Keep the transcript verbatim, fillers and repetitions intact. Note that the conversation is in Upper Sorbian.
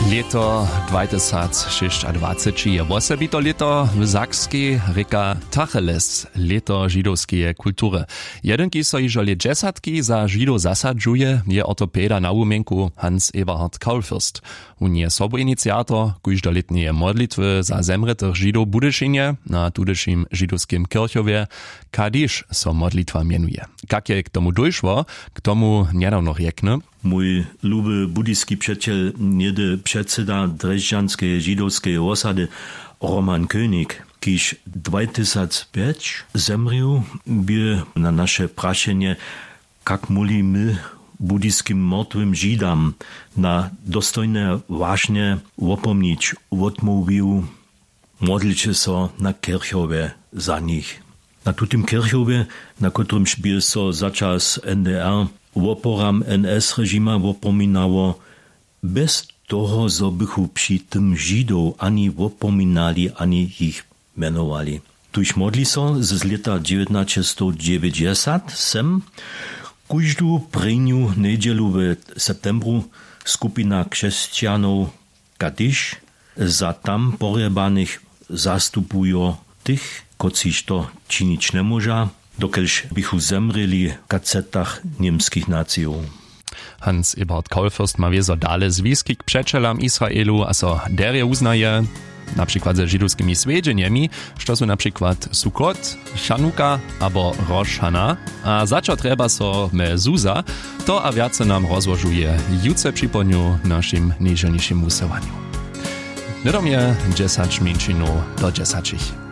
Lěto dwajtysacšěsćadwaceći je wosebito lěto w Sakskej, rěka Tacheles, lěto židowskeje kultury. Jedynki so hižo lět dźesatki za židow zasadźuje, je ortopeda na wumjenku Hans Eberhard Kaulfürst. Wón je sobuiniciator kóždolětneje modlitwy za zemrětych židow w Budyšinje na tudyšim židowskim kěrchowje. Kadiš so modlitwa mjenuje. Kak je k tomu dóšło, k tomu njedawno rjekny. Mój luby budyski přećel, něhdy předsyda drježdźanskeje židowskeje wosady, Roman König, kiž dwajtysacpjeć zemrěł, bě na naše prašenje, kak móhli my budyskim mortwym židam na dostojne wašnje wopomnić, wotmołwił: Modlće so na kěrchowje za nich. Na tutym kěrchowje, na kotrymž bě so za čas N D R woporam N S režima wopominało, bjez toho zo bychu při tym židow ani wopominali ani jich mjenowali. Tuž modli so z lěta dźewjatnaćestowdźewjećdźesat sem kóždu prěnju njedźelu w septembru skupina křesćanow, kadiš za tam porjebanych zastupujo tych, kotřiž to činić njemóža, dokelž běchu zemrěli w kacetach němskich nacijow. Hans Eberhard Kaulfürst ma wězo dale zwiski k přećelam Israelu a so derje wuznaje, na přikład ze židowskimi swjedźenjemi, što su na přikład Sukkot, Chanuka abo Rosh Hana. A za čo trjeba so Mezuza? To a wjace nam rozłožuje jutře připołdnju w našim nježelnišim wusyłanju. Hnydom je dźesać mjeńšinow do dźesaćich.